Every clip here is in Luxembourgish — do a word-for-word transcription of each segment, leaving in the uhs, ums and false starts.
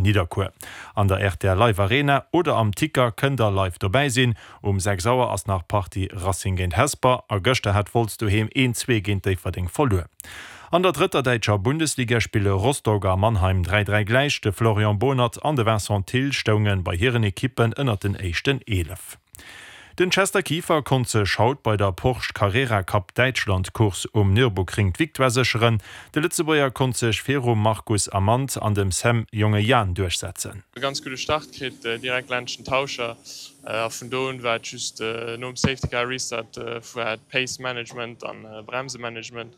Nidderkuer. An der rtl Live Arena oder am Ticker kënnt der live dobäi sinn. Um sechs Auer ass nach d'Partie Racing géint Hesper a gëschter hat Wolz doheem een zwee géint Déifferdeng verluer. An der drëtter däitscher Bundesliga spille Rostock a Mannheim dräi dräi gläich. De Florian Bohnert an de Vincent Thill stounge bei hiren Ekippen ënnert den éischten Eelef. Den Chester Kieffer konnt sech haut bei der Porsche Carrera Cup Däitschland Course um Nürburgring d'Victoire sécheren. De Lëtzebuerger konnt sech virum Markus Amand an dem Sam Jongejan duerchsetzen. E ganz gudde Start kritt, direkt laanscht den Tauscher a vun do un war et just nom Safety Car Restart war et Pace Management an Bremsemanagement.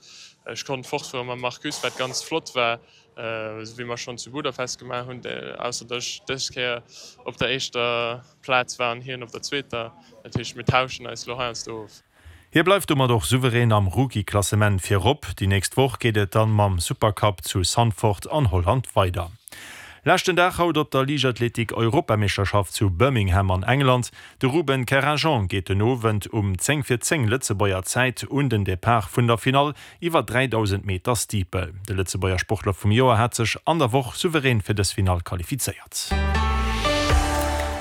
Ech konnt fortfuere mam Markus, wat ganz flott war, esou wéi mer schonn zu Budapest gemaach hunn, ausser datt ech dës Kéier op der éischter Plaz war an hien op der zweeter. Dat heescht, mir tauschen eis elo heiansdo of. Hie bleift domat och souverän am Rookie-Klassement virop. Déi nächst Woch geet et dann mam Supercup zu Zandvoort an Holland weider. Leschten Dag haut op der Liichtathletik-Europameeschterschaft zu Birmingham an England. De Ruben Kerrajean geet den Owend um zéng vir zéng Lëtzebuerger Zäit un den Depart vun der Finall iwwer dräidausend Meter Steeple. De Lëtzebuerger Sportler vum Joer hat sech an der Woch souverän fir dës Finall qualifizéiert.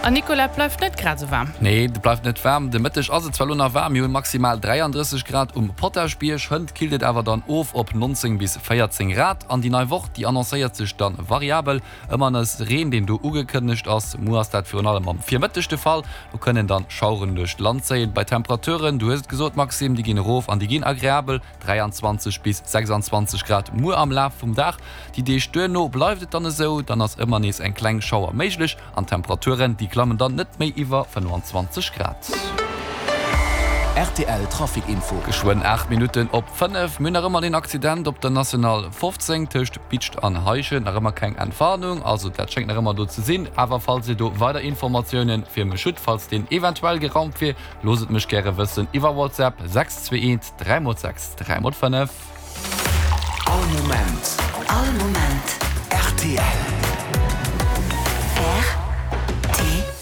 An Nicolas, bleift net grad sou waarm. Nee, et bleift net waarm. De Mëtteg ass et zwar lo nach waarm, mir hunn maximal dräiandrësseg Grad um Potaschbierg, hënt killt et awer dann of op neunzéng bis véierzéng Grad. An déi nei Woch, déi annoncéiert sech dann variabel, ëmmer nees Reen, deen do ugekënnegt ass. Muer ass dat virun allem am Virmëtteg de Fall, do kënnen dann Schaueren duerch d'Land zéien. Bei Temperaturen, du hues et gesot Maxime, déi ginn erof an déi ginn agreabel, dräianzwanzeg bis sechsanzwanzeg Grad muer am Laf vum Dag. Déi Deeg duerno bleift et dann esou, dann ass ëmmer nees eng kleng Schauer méiglech an d'Temperaturen, déi klammen dann net méi iwwer fënnefanzwanzeg Grad. Rtl Trafic Info. Geschwënn aacht Minutten op fënnef. Mir hunn nach ëmmer deen Accident op der National fofzéng tëscht Bidscht an Heischent. Nach ëmmer keng Entwarnung, also dat schéngt nach ëmmer do ze sinn. Awer falls Dir do weider Informatiounen fir mech hutt, falls deen eventuell geraumt wier, loosst et mech gäre wëssen iwwer WhatsApp, sechs zwee eent dräi mol sechs dräi mol fënnef. All Moment. All Moment. Rtl. Rtl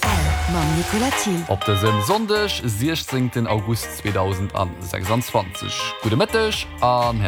mam Nicolas Thiel. Op dësem Sonndeg, siechzéngten August zweedausendsechsanzwanzeg. Gudde Mëtteg an.